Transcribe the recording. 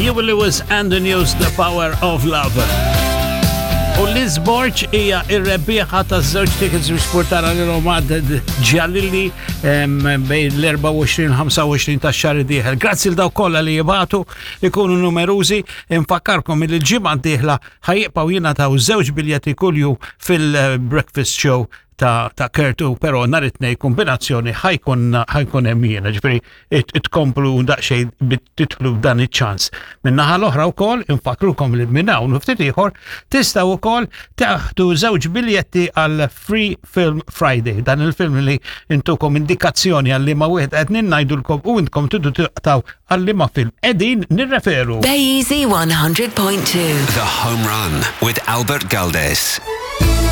Huey Lewis and the News, The Power of Love. U Liz Borg hija ir-rebbieħa ta' żewġ tickets biex portara lil Omad Ġalili bejn l-24-25 ta' xahar dieħel. Grazzi l daw kollha li jibatu ikunu numerużi. Infakkarkom li l-ġimgħa d-dieħla ħajibqgħu jingħataw żewġ biljetti kuljum fil-breakfast show ta', ta Kertu, pero nhar it-tnejn kombinazzjoni ħajkun ħajkun hemm jiena, ġifieri tkomplu daqsxejn titlu dan iċ-ċans. Min-naħa l-oħra wkoll infakrukom li minn hawn u ftit ieħor tistgħu wkoll taħdu żewġ biljetti għal Free Film Friday. Dan il-film li intukom indikazzjoni għal liema wieħed qed ngħidulkom u intkom tridu taqtaw għal liema film qegħdin nirreferu. Bay Easy 100.2. The Home Run with Albert Galdes.